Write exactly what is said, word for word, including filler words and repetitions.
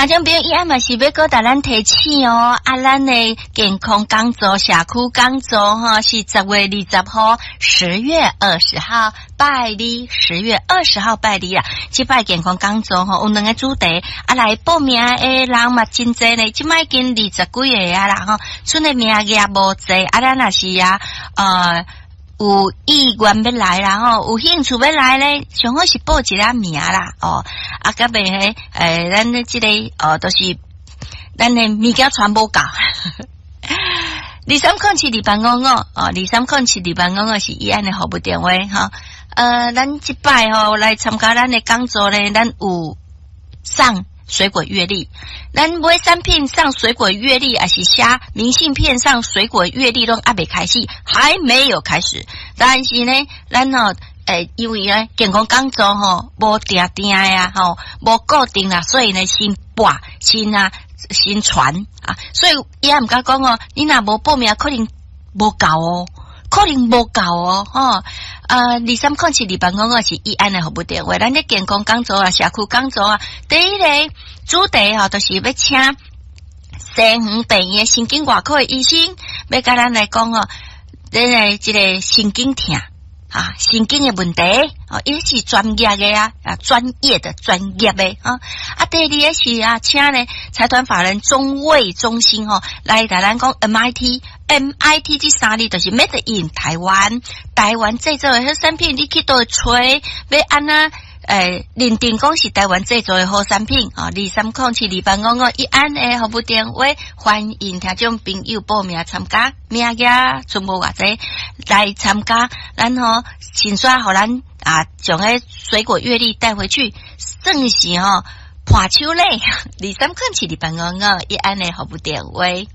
聽眾朋友，伊暗嘛是欲閣共咱提醒哦，啊，咱的健康講座、社區講座吼，是十月二十號，十月二十號拜二，十月二十號拜二啊。這擺健康講座吼，有兩個主題，啊，來報名的人嘛真濟呢，這擺已經二十幾个啊啦吼，賰的名額無濟，啊，咱若是啊，呃。有意願欲來啦吼，有興趣欲來咧，上好是報一下名啦哦。啊，佮袂彼，欸，咱的這個哦，都是咱的物件傳無夠。二三空七二八五五哦，二三空七二八五五是醫安的服務電話吼。呃，咱這擺吼來參加咱的講座咧，咱有送水果月曆，咱買產品送水果月曆，抑是寫明信片送水果月曆，攏猶未開始，還沒有開始。但是呢，咱吼，欸，因為呢，健康講座吼無定定的啊，吼無固定啦，所以呢，先播先啊，先傳啊，所以伊也毋敢講哦，你若無報名，可能無夠哦，可能無夠哦，吼。呃，二三空七二八五五是醫安的服務電話，咱的健康講座啊，社區講座啊，第一個主題吼，就是欲請西園病院的神經外科的醫生，欲共咱來講哦，咱的這個神經痛啊，神經的問題哦，伊是專業的啊，啊，專業的專業的啊。啊，第二個是啊，請呢財團法人中衛中心吼，來共咱講 M I T，M I T 這三字就是 Made in 台灣，台灣製造的好產品，你去佗佗揣，欲按怎欸，認定講是台灣製造的好產品哦，二三空七二八五五醫安的服務電話，歡迎聽眾朋友報名參加，名額賰無偌濟來參加，然後先刷予咱啊，將彼水果月曆帶回去，算是吼伴手禮，二三空七二八五五醫安的服務電話。